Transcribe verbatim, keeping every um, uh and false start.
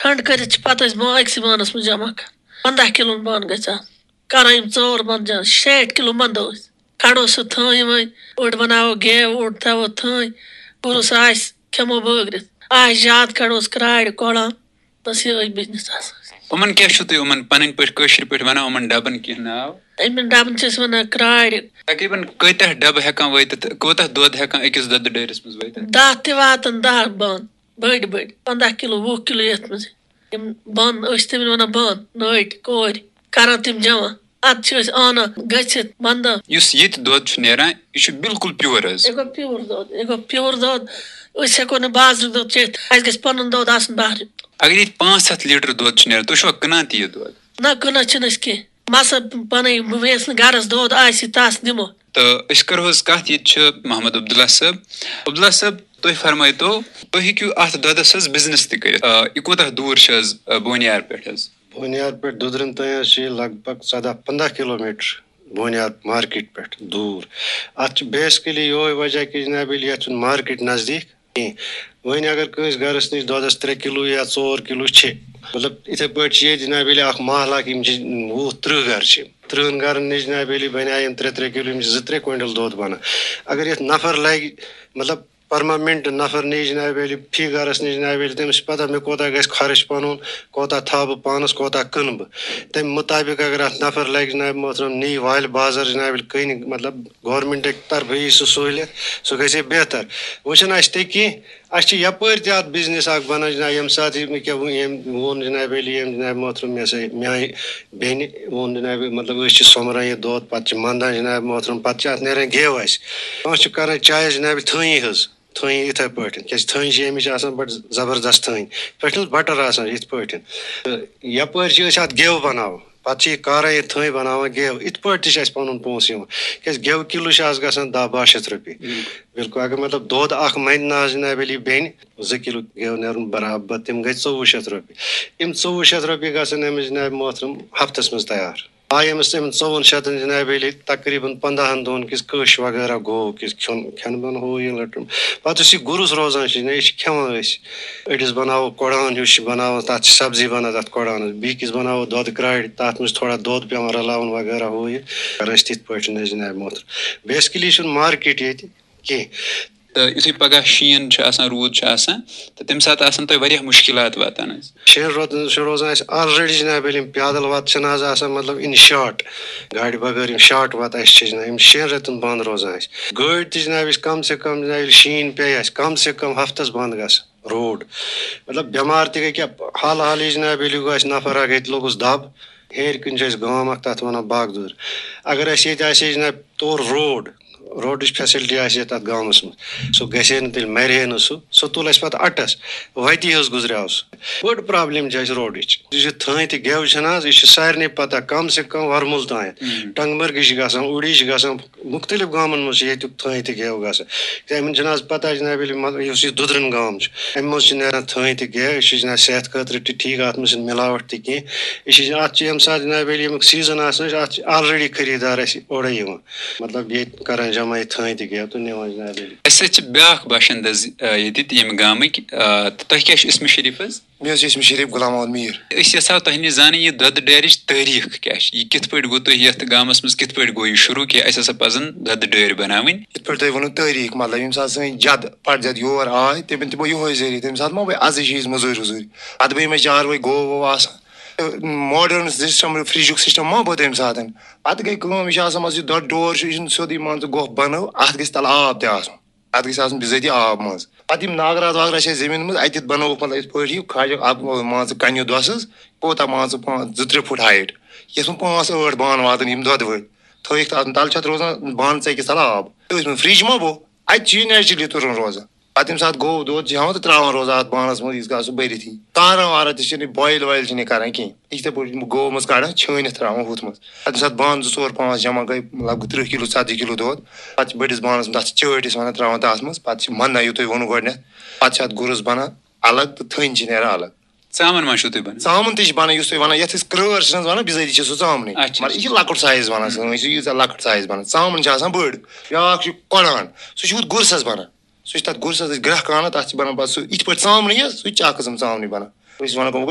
ٹھنٛڈ کٔرِتھ چھِ پَتہٕ أسۍ بان أکسٕے بانَس منٛز جمع کران۔ پنٛداہ کِلوُن بان گژھِ آسُن۔ کران یِم ژور بانہٕ جمع، شیٹھ کِلوٗ بَنٛدو أسۍ۔ کھڑو سُہ تھٲنۍ وۄنۍ، اوٚڑ بَناوو گیو، اوٚڑ تھاوو تھٲنۍ۔ گُرُس آسہِ، کھٮ۪مو بٲگرِتھ۔ آسہِ زیادٕ، کھڑوس کرٛارِ، کۄڑان۔ بس یِہوٚے بِزنِس آسان۔ یِمَن کیٛاہ چھُو تُہۍ یِمَن پَنٕنۍ پٲٹھۍ، کٲشِر پٲٹھۍ وَنان، یِمَن ڈَبَن کینٛہہ ناو؟ یِمَن ڈَبَن چھِ أسۍ وَنان کرٛارِ۔ تقریٖباً کۭتیٛاہ ڈَبہٕ ہٮ۪کان وٲتِتھ، کوٗتاہ دۄد ہٮ۪کان أکِس دۄدٕ ڈٲرِس منٛز وٲتِتھ؟ دَہ تہِ واتَن، دَہ بانہٕ، بٔڑۍ بٔڑۍ، پنٛداہ کِلوٗ، وُہ کِلوٗ یَتھ منٛز۔ یِم بانہٕ، أسۍ چھِ تِمَن وَنان بانہٕ، نٲٹۍ، کورِ، کران تِم جمع۔ اَدٕ چھِ أسۍ آنان گٔژھِتھ، بَنٛدان۔ یُس ییٚتہِ دۄد چھُ نیران، یہِ چھُ بالکل پیور حظ۔ یہِ گوٚو پیور دۄد، یہِ گوٚو پیور دۄد۔ أسۍ ہٮ۪کو نہٕ بازرُک دۄد چٮ۪تھ، اَسہِ گژھِ پَنُن دۄد آسُن بہرٕ۔ اگر ییٚتہِ پانٛژھ ہَتھ لیٖٹر دۄد چھُ نیران، تُہۍ چھُوا کٕنان تہِ یہِ دۄد؟ نہ، کٕنان چھِنہٕ أسۍ کینٛہہ۔ مَسا پَنٕنۍ، بہٕ یَس نہٕ گَرَس دۄد آسہِ، تَس دِمو۔ تہٕ أسۍ کَرو حظ کَتھ، ییٚتہِ چھِ محمد عبداللہ صٲب۔ عبداللہ صٲب، تُہۍ فرمٲیتو، تُہۍ ہیٚکِو اَتھ دۄدَس حظ بِزنِس تہِ کٔرِتھ۔ آ، یہِ کوٗتاہ دوٗر چھِ حظ، آ، بونیار پٮ۪ٹھ حظ؟ بونیار پٮ۪ٹھ دُدرن تام حظ چھِ یہِ لگ بگ ژۄداہ پنٛداہ کِلوٗ میٖٹر بونیار مارکیٹ پٮ۪ٹھ دوٗر۔ اَتھ چھِ بیسکلی یِہوٚے وجہ کہِ جناب عٲلی، یَتھ چھُنہٕ مارکیٹ نزدیٖک کینٛہہ۔ وۄنۍ اگر کٲنٛسہِ گَرَس نِش دۄدَس ترٛےٚ کِلوٗ یا ژور کِلوٗ چھِ، مطلب، یِتھَے پٲٹھۍ چھِ ییٚتہِ جناب عٲلی اَکھ محلہٕ اَکھ، یِم چھِ وُہ تٕرٛہ گَرٕ چھِ۔ تٕرٛہَن گَرَن نِش جناب عٲلی بَنیٛاے یِم ترٛےٚ ترٛےٚ کِلوٗ، یِم چھِ زٕ ترٛےٚ کویِنٹَل دۄد بَنان۔ اگر یَتھ نفر لَگہِ، مطلب، پٔرماننٹ نفر نِش جناب عٲلی، فی گَرَس نِش جناب عٲلی، تٔمِس چھِ پَتہ مےٚ کوٗتاہ گژھِ خرٕچ پَنُن، کوٗتاہ تھاوٕ بہٕ پانَس، کوٗتاہ کٕنہٕ بہٕ۔ تَمہِ مُطابِق اگر اَتھ نفر لَگہِ جناب محترم، نی والہِ بازر جناب عٲلی، کٕنہِ، مطلب، گورنمنٹٕکۍ طرفہٕ یی سُہ سہوٗلیت، سُہ گژھِ ہے بہتر۔ وۄنۍ چھُنہٕ اَسہِ تہِ کینٛہہ، اَسہِ چھِ یَپٲرۍ تہِ اَتھ بِزنِس اَکھ بَنان جناب، ییٚمہِ ساتہٕ یہِ مےٚ کیٛاہ ووٚن، ییٚمۍ ووٚن جناب عٲلی، ییٚمۍ جناب محترم مےٚ سا میٛانہِ بیٚنہِ ووٚن جناب، مطلب، أسۍ چھِ سۄمبران یہِ دۄد، پَتہٕ چھِ مَنٛدان جناب محترم، پَتہٕ چھِ اَتھ نیران گیو اَسہِ۔ کانٛہہ چھُ کَران چایَس جناب تھٔنی ہٕنٛز۔ تھٔنۍ یِتھَے پٲٹھۍ، کیٛازِ تھٔنۍ چھِ اَمِچ آسان بَڑٕ زبردست تھٔنۍ، پٮ۪ٹھٕ چھُنہٕ بَٹَر آسان یِتھ پٲٹھۍ۔ تہٕ یَپٲرۍ چھِ أسۍ اَتھ گٮ۪و بَناوان، پَتہٕ چھِ یہِ کارَے یہِ تھٔنۍ بَناوان گٮ۪و، یِتھ پٲٹھۍ تہِ چھِ اَسہِ پَنُن پونٛسہٕ یِوان، کیٛازِ گٮ۪و کِلوٗ چھِ آز گژھان دَہ باہ شیٚتھ رۄپیہِ۔ بِلکُل، اگر مطلب دۄد اَکھ مَنہِ نہ حظ جناب عٲلی بیٚنہِ، زٕ کِلوٗ گٮ۪و نیرُن برابر، تِم گٔے ژوٚوُہ شیٚتھ رۄپیہِ۔ یِم ژوٚوُہ شیٚتھ رۄپیہِ گژھن أمِس جناب محترم ہفتَس منٛز تیار۔ آے أمِس تِمَن ژوٚوُہَن شیٚتَن جناب عٲلی تقریٖباً پنٛداہَن دۄہَن کِس کٲش وغیرہ گوٚو کِس کھیوٚن، کھٮ۪ن بَن ہُہ یہِ لٔٹُم۔ پَتہٕ یُس یہِ گُرُس روزان چھِ، نہ، یہِ چھِ کھٮ۪وان أسۍ۔ أڑِس بَناوو کۄڑان ہیوٗ چھِ بَناوان، تَتھ چھِ سبزی بَنان تَتھ کۄڑانَس۔ بیٚیہِ کِس بَناوو دۄدٕ کرٛارِ، تَتھ منٛز چھِ تھوڑا دۄد پٮ۪وان رَلاوُن وغیرہ ہُہ یہِ۔ کَران چھِ تِتھ پٲٹھۍ حظ جناب محترم۔ بیسکلی چھُنہٕ مارکیٹ ییٚتہِ کینٛہہ۔ تہٕ یُتھُے پَگاہ شیٖن چھُ آسان، روٗد چھُ آسان، تہٕ تَمہِ ساتہٕ آسَن تۄہہِ واریاہ مُشکِلات واتان حظ۔ شیٖن روزان، چھُ روزان اَسہِ آلریڈی جناب عٲلی، یِم پیدل وَتہٕ چھِنہٕ آز آسان، مطلب، اِن شاٹ، گاڑِ بغٲر یِم شاٹ وَتہٕ اَسہِ چھِ جناب، یِم شیٚن رٮ۪تَن بنٛد روزان اَسہِ۔ گٲڑۍ تہِ جناب، یُس کم سے کم جناب، ییٚلہِ شیٖن پیٚیہِ اَسہِ، کم سے کم ہفتَس بنٛد گژھان روڈ۔ مطلب، بٮ۪مار تہِ گٔے کیٛاہ، حال حالٕے جناب، ییٚلہِ گوٚو اَسہِ نفر اَکھ ییٚتہِ لوٚگُس دَب، ہیٚرِ کِنۍ چھُ اَسہِ گام اَکھ، تَتھ وَنان باغدُر۔ اگر اَسہِ ییٚتہِ آسہِ ہے جناب تور روڈ، روڈٕچ فیسلٹی آسہِ ہے تَتھ گامَس منٛز، سُہ گژھِ ہے نہٕ تیٚلہِ، مَرِ ہے نہٕ سُہ، سُہ تُل اَسہِ پَتہٕ اَٹَس، وَتی حظ گُزریٛاو سُہ۔ بٔڑ پرابلم چھِ اَسہِ روڈٕچ۔ یُس یہِ تھٔنۍ تہٕ گٮ۪و چھَنہٕ حظ، یہِ چھِ سارنٕے پَتہ، کم سے کم وَرمُل تانٮ۪تھ۔ ٹنٛگمرگہِ چھِ گژھان، اوٗڑی چھِ گژھان، مُختلف گامَن منٛز چھِ ییٚتیُک تھٔنۍ تہٕ گٮ۪و گژھان۔ تہٕ یِمَن چھِنہٕ حظ پَتہ جناب عٲلی، مطلب، یُس یہِ دُدرِن گام چھُ، اَمہِ منٛز چھِ نیران تھٔنۍ تہٕ گٮ۪و، یہِ چھُ جناب صحت خٲطرٕ تہِ ٹھیٖک، اَتھ منٛز چھِنہٕ مِلاوَٹھ تہِ کینٛہہ۔ یہِ چھِ، اَتھ چھِ ییٚمہِ ساتہٕ جناب عٲلی، ییٚمیُک سیٖزَن آسان چھُ، اَتھ چھِ آلریڈی خریٖدار اَسہِ اورَے یِوان۔ مطلب، ییٚتہِ کَران جمع یہِ تھٔنۍ تہٕ گٮ۪و تہٕ نِوان جناب عٲلی۔ اَسہِ سۭتۍ چھِ بیٛاکھ باشندٕ حظ، آ، ییٚتہِ تہِ ییٚمہِ گامٕکۍ، آ، تہٕ تۄہہِ کیٛاہ چھُ اسمِ شریٖف حظ؟ مےٚ حظ چھُ اسمِ شریٖف غلام محمد میٖر۔ أسۍ یَژھاو تۄہہِ نِش زانٕنۍ یہِ دۄدٕ ڈیرِچ تٲریٖخ کیٛاہ چھِ؟ یہِ کِتھ پٲٹھۍ گوٚو تۄہہِ یَتھ گامَس منٛز، کِتھ پٲٹھۍ گوٚو یہِ شروٗع کہِ اَسہِ ہسا پَزَن دۄدٕ ڈٲرۍ بَناوٕنۍ؟ یِتھ پٲٹھۍ تۄہہِ ووٚنوُ تٲریٖخ، مطلب، ییٚمہِ ساتہٕ سٲنۍ جد پرجد یور آے، تِمَن تہِ گوٚو یِہوٚے ذٔریعہٕ۔ تَمہِ ساتہٕ ما گٔے اَزٕچ ہِش مٔزوٗرۍ ؤزوٗرۍ۔ اَدٕ بیٚیہِ ما چاروٲے گٲو وٲو آسان۔ تہٕ ماڈٲرٕن سِسٹَم، فرٛجُک سِسٹَم ما گوٚو تَمہِ ساتہٕ۔ پَتہٕ گٔے کٲم، یہِ چھِ آسان، مان ژٕ، یہِ دۄدٕ ڈور چھُ، یہِ چھُنہٕ سیوٚدُے، مان ژٕ، گۄپھ بَنٲو، اَتھ گژھِ تَلہٕ آب تہِ آسُن۔ اَتھ گژھِ آسُن بِذٲتی آب منٛز۔ پَتہٕ یِم ناگرات واگرات چھِ اَسہِ زٔمیٖن منٛز، اَتہِ تہِ بَنووُکھ، مطلب، یِتھ پٲٹھۍ یہِ کھاجہِ اَکھ، مان ژٕ، کَنہِ دۄسَس، کوٗتاہ، مان ژٕ، پانٛژھ، زٕ ترٛےٚ فُٹ ہایٹ۔ یَتھ منٛز پانٛژھ ٲٹھ بانہٕ واتَن یِم دۄدٕ وٲلۍ۔ تھٲیِکھ تَتھ تَلہٕ چھِ اَتھ روزان بانہٕ ژَکہِ تَلہٕ آب۔ تٔتھۍ منٛز فرٛج ما گوٚو، اَتہِ چھِ یہِ نیچرلی تُرُن روزان۔ پَتہٕ ییٚمہِ ساتہٕ گوٚو دۄد چھِ ہٮ۪وان تہٕ ترٛاوان روزان اَتھ بانَس منٛز، ییٖتِس کالَس سُہ بٔرِتھ یی۔ کارَن وارَن تہِ چھِنہٕ یہِ بویِل وویِل چھِنہٕ یہِ کَران کِہیٖنۍ۔ یہِ چھِ یِتھَے پٲٹھۍ گٲو منٛز کَڑان، چھٲنِتھ ترٛاوان ہُتھ منٛز۔ پَتہٕ ییٚمہِ ساتہٕ بانہٕ زٕ ژور پانٛژھ جمع گٔے، لگ بگ تٕرٛہ کِلوٗ، ژَتجی کِلوٗ دۄد، پَتہٕ چھِ بٔڑِس بانَس منٛز، تَتھ چھِ چٲٹۍ أسۍ وَنان، ترٛاوان تَتھ منٛز، پَتہٕ چھِ مَنٛدان، یہِ تۄہہِ ووٚنوُ گۄڈٕنٮ۪تھ، پَتہٕ چھِ اَتھ گُرُس بَنان اَلگ تہٕ تھٔنۍ چھِ نیران اَلگ۔ ژامَن ما چھُو تُہۍ بَنان؟ ژامَن تہِ چھِ بَنان، یُس تُہۍ وَنان، یَتھ أسۍ کرٛٲر چھِ نہ حظ وَنان، بِذٲتی چھِ سُہ ژامنٕے۔ اچھا، مگر یہِ چھِ اچھا۔ لۄکُٹ سایز بَنان سٲنۍ، یہِ چھِ ییٖژاہ لۄکٕٹ سایز بَنان۔ ژامَن چھِ آسان بٔڑ۔ بیٛاکھ چھُ کۄڑان، سُہ چھُ ہُتھ گُرسَس بَنان۔ سُہ چھِ تَتھ گُرسَس أسۍ گرٛٮ۪کھ اَنان، تَتھ چھِ بَنان پَتہٕ سُہ یِتھ پٲٹھۍ ژامنٕے حظ، سُہ تہِ چھِ اَکھ قٕسٕم ژامنٕے بَنان۔ أسۍ وَنان گوٚو